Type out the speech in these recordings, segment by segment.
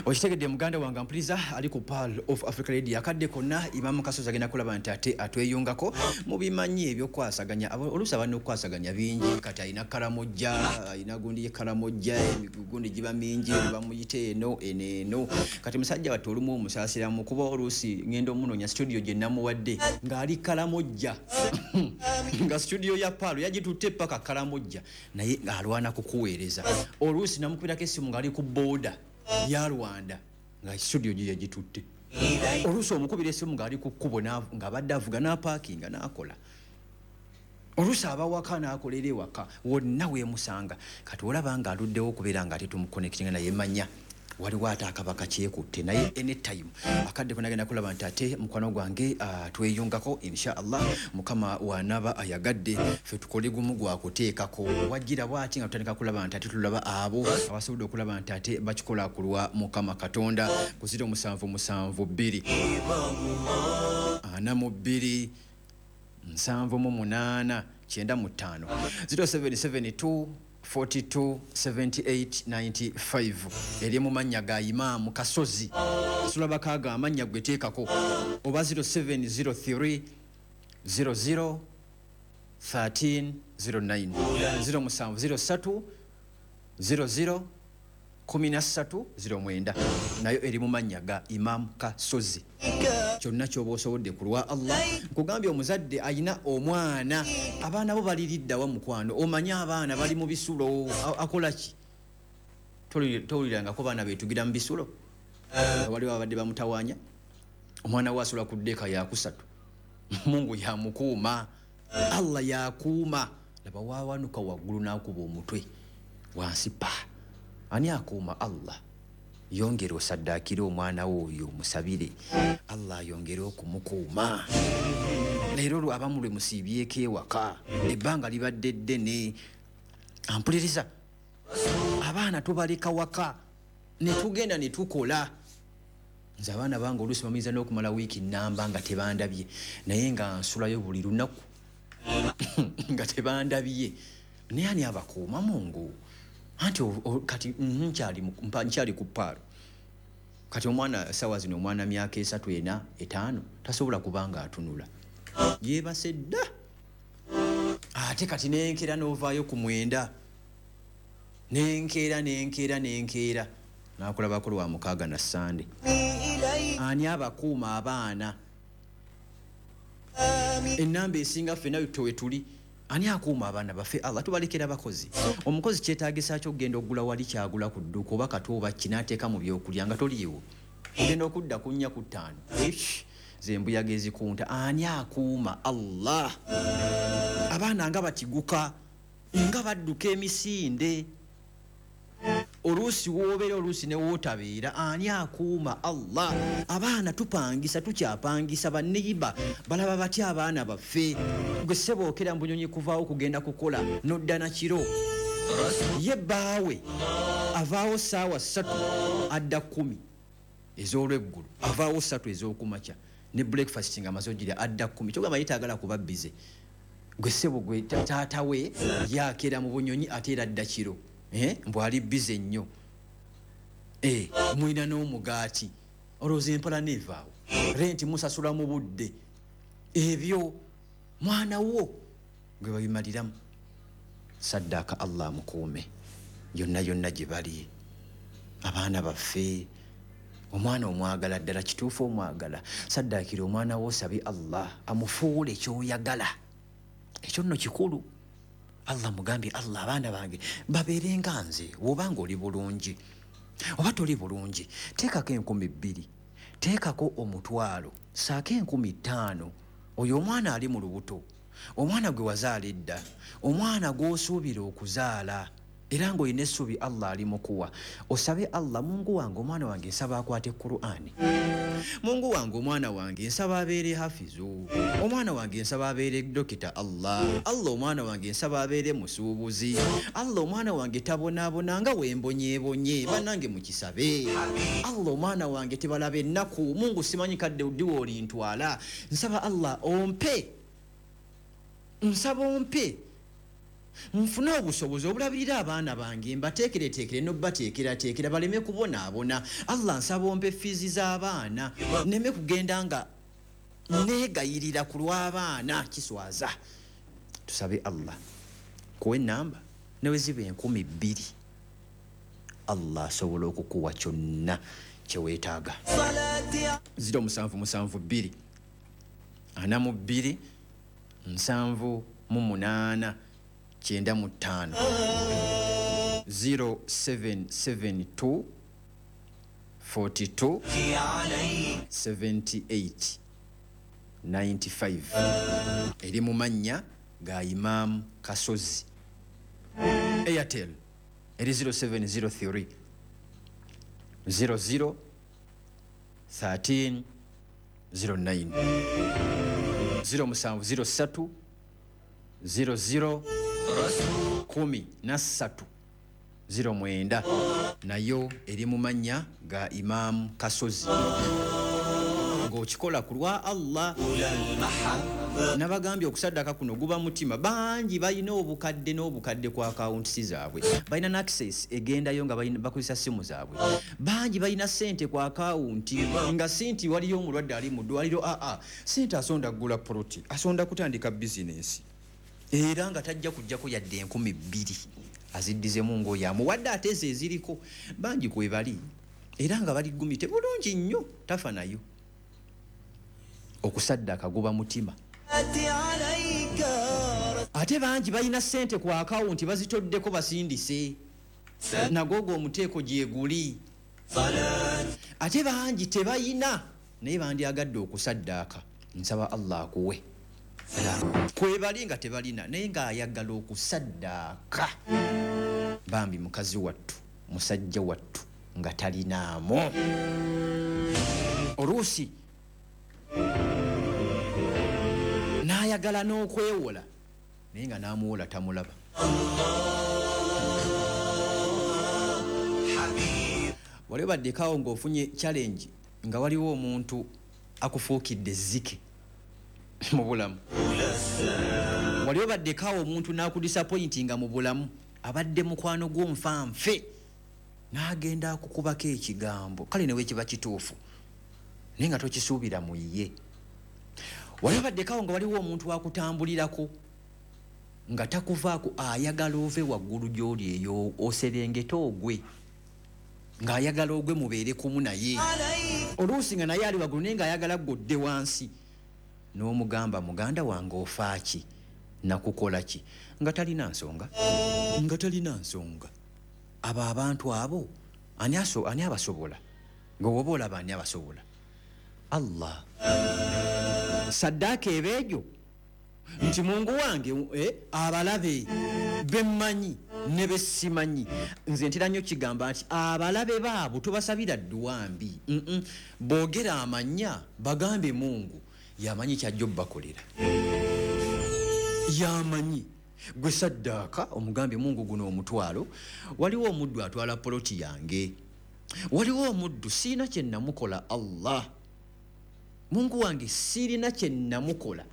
Okitegedde muganda wange ampuliriza ali ku Pearl of Africa Radio akadde konna Imamu Kasozi agenda kulaba nti ate atweyungako mubimanyi ebyokukwasaganya. Oluusi aba n'okukwasaganya bingi, kati alina Karamojja, alina gundi ye Karamojja, emigundi giba mingi, bamuyita eno eno eno. Kati musajja wattu olumu omusaasiramu kuba oluusi ngenda omunoonya studio gye namuwadde ng'ali Karamojja nga studio ya Pearl yagitutte paka Karamojja, naye ng'alwana kukuweereza. Oluusi namukubirako essimu ng'ali ku booda ya Rwanda nga studio gye yagitutte. Oluusi omukubira essimu ng'ali ku kkubo ng'abadde avuga n'apaakinga n'akola. Oluusi aba waka n'akolera ewaka, wonna weemusanga. Kati olaba ng'aluddewo okubeera nga ate tumuconnectinga, naye manya waliwo ate akaba kakyekutte, naye anytime akadde kona agenda kulaba nti ate mukwano gwange tweyungako inshallah. Mukama wanaba ayagadde ffe tukole gumu gwa kuteekako wajjira bwati nga tutandika kulaba nti ate tulaba abo abasobodde okulaba nti ate bakikola ku lwa Mukama Katonda. Ku 077 2 42 78 95, 0772 42 78 95, eri mu mannya ga Imaamu Kasozi. Sulabako ago amannya gwe teekako, oba 0703 00 13 09, 0703 00 13 09, nayo eri mu mannya ga Imaamu Kasozi. Kyonna kyoba osobolodde ku lwa Allah. Nkugambye, omuzadde ayina omwana, abaana bo baliriddawa? Mukwano, omanye abaana bali mu bisulo, akola ki? Towulirangako baana betugira mu bisulo? Waliwo abadde bamutawaanya, omwana we asula ku ddeeka yakusatu. Mungu yamukuuma, Allah yakuuma. Laba wawanuka waggulu n'akuba omutwe wansi pa. Ani akuuma? Allah. Yongera osaddaakire omwana wo oyo, omusabire Allah ayongere okumukuuma. Leero lwe abamu lwe musiibyeko ewaka, ebbanga libadde ddene. Ampuliriza, abaana tubaleka waka ne tugenda ne tukola. Nze abaana bange oluusi bamuyinza n'okumala wiiki namba nga tebandabye, naye nga nsulayo buli lunaku nga tebandabye. Naye ani abakuuma? Mungu. Anti kati nkyali ku Pearl. Kati omwana sawa zino, omwana myaka 3, 4, 5, tasobola kubanga atunula, yeebase dda. Ate kati nenkeera n'ovaayo ku 9, nenkeera nenkeera nenkeera nakulabako lwa 6 na Sande. Ani abakuuma abaana? Enamba esinga ffenna we tuli. Ani akuuma abaana baffe? Allah. Tubalekera bakozi. Omukozi kyetagisa ki okugenda okugula wali kyagula ku dduuka oba katu oba ki n'ateeka mu byokulya nga toliiwo, ogenda okudda ku 4, ku 5, zembuyaga ezikunta. Ani akuuma? Allah. Abaana nga batiguka, nga badduka emisinde, oluusi woobeera, oluusi ne wootabeera. Ani akuuma? Allah. Abaana tupangisa, tukyapangisa, baneiba balaba batya abaana baffe? Gwe sebookera mbunyonyi kuvaawo kugenda kukola nodda na kiro, ye bbaawe avaawo saawa 3 adda 10 ez'olweggulo, avaawo 3 ez'okumakya ne breakfast nga amaze ogirya, adda 10. Kyogamba ye taagala kuba busy. Gwe ssebo, gwe taata we yakera mu bunyonyi ate era adda kiro. Eh, mbu ali busy nnyo. Eh, mulina n'omugaati, olowooza empala neevaawo? Renti musasula mu budde, ebyo mwana wo gwe babimaliramu. Saddaaka Allah amukuume yonna yonna gye bali abaana baffe. Omwana omwagala ddala, kituufu omwagala, saddaakira omwana wo, osabye Allah amufuule kyoyagala. Ekyo nno kikulu. Allah mugambye, Allah, abaana bange babeere nga nze. Wobanga oli bulungi oba toli bulungi, teekako 2000, teekako 500, saako 5000. Oyo omwana ali mu lubuto, omwana gwe wazaala edda, omwana gw'osuubira okuzaala era ng'olina essuubi Allah ali mukuwa, osabe Allah: Mungu wange, omwana wange nsaba akwate Qur'ani. Mungu wange, omwana wange nsaba abeere hafizu. Omwana wange nsaba abeere dokita. Allah, Allah, omwana wange nsaba abeere musuubuzi. Allah, omwana wange tabonaabona nga wembonyeebonye. Bannange, mukisabe. Allah, omwana wange tebalaba ennaku. Mungu, simanyi kadde ddiwa olintwala, nsaba Allah ompe, nsaba ompe. Nfune obusobozi obulabirira abaana bange, mbateekereteekere n'obateekerateekera baleme kubonaabona. Allah nsaba ompe fiizi z'abaana, nneme kugenda nga neegayirira ku lw'abaana, kiswaza. Tusabe Allah kuwa ennamba ne bwe ziba 2000, Allah asobola okukuwa kyonna kye weetaaga. 0772 42 78 95, 0772 42 78 95, eri mu mannya ga Imam Kasozi. Airtel eri 0703 00 13 09, 0703 00 13 09, nayo eri mu mannya ga Imam Kasozi. Ng'okikola ku lwa Allah. Nabagambye okusaddaka kuno guba mutima. Bangi balina obukadde n'obukadde ku akawunti zaabwe, balina n'access egendayo nga bakozesa simu zaabwe. Bangi balina ssente ku akawunti nga si nti waliyo omulwadde ali mu ddwaliro, aa ssente asonda kugula poloti, asonda kutandika bizinensi, era nga tajja kujjako yadde 2000 aziddizemu ng'oyo amuwadde, ate ezo eziriko bangi kwe bali era nga bali gumite bulungi nnyo, tafa nayo. Okusaddaka guba mutima. Ate bangi balina ssente ku akawunti bazitoddeko basindise, nagoogo omuteeko gyeguli. Ate bangi tebayina naye bandyagadde okusaddaaka. Nsaba Allah akuwe. Kwebali nga tebalina naye ng'ayagala okusaddaaka. Bambi mukazi wattu, musajja wattu nga talinaamu. Oluusi n'ayagala n'okwewola naye nga n'amuwola tamulaba. Wali obaddekawo ng'ofunye challenge nga waliwo omuntu akufuukidde ezzike mu bulamu. Wali obaddekawo omuntu n'akudisappointinga mu bulamu, abadde mukwano gwo nfanfe, n'agenda akukubako ekigambo, kale ne wekiba kituufu naye nga tokisuubira mu ye. Wali obaddekawo nga waliwo omuntu akutambulirako nga takuvaako, ayagala ove waggulu gy'oli eyo oserengete ogwe, ng'ayagala ogwe mubeere kumu naye. Oluusi nga naye ali waggulu naye ng'ayagala ggwe odde wansi, n'omugamba muganda wange ofa ki, nakukola ki, nga talina nsonga, nga talina nsonga. Abo abantu abo ani abasobola? Nga woba olaba ani abasobola? Allah. Saddaaka ebeejo nti Mungu wange abalabe bemmanyi ne bessimanyi. Nze ntera nnyo kigamba nti abalabe baabo tubasabira dduwa mbi. Boogera amannya bagambe Mungu yamanyi kyajja obbakolera, yamanyi. Gwe saddaaka omugambe Mungu guno omutwalo. Waliwo omuddu atwala poloti yange, waliwo omuddu siina kye namukola. Allah Mungu wange sirina kye namukola,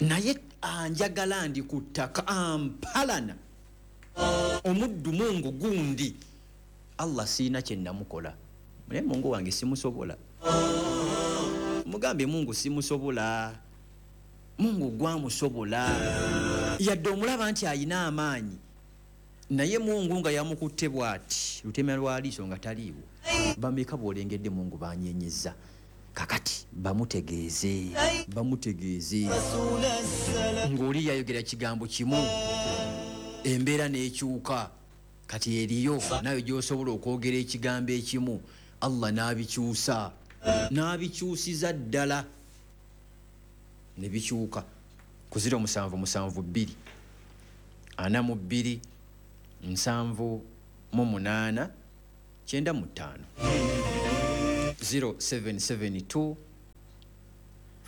naye anjagala ndi ku ttaka ampalana. Omuddu Mungu gundi Allah siina kye namukola, naye Mungu wange simusobola. Mugambe Mungu simusobola, Mungu gwamusobola. Yadde omulaba nti ayina amaanyi, naye Mungu nga yamukutte bw'ati lutemya lwa liiso nga taliiwo. Bameka bw'olengedde Mungu banyenyeza? Kakati bamutegeeze, bamutegeeze ng'oli yayogera kigambo kimu embeera n'ekyuka. Kati eriyo nayo gy'osobola okwogera ekigambo ekimu Allah n'abikyusa, n'abikyusiza ddala ne bikyuka. Ku 0772 42 78 95, 0772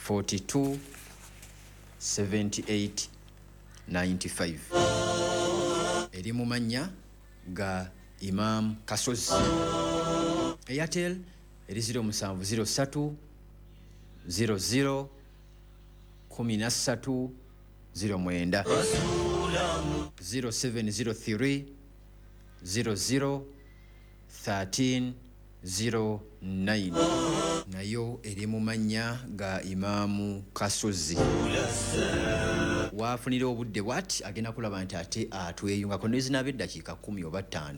42 78 95, eri mu mannya ga Imam Kasozi. Airtel eri 0703 00 13 09. 0703 00 13 09, nayo eri mu mannya ga Imaamu Kasozi. Waafunira obudde bwati, agenda kulaba nti ate atweyungako nezinaaba eddakiika 10 oba 5.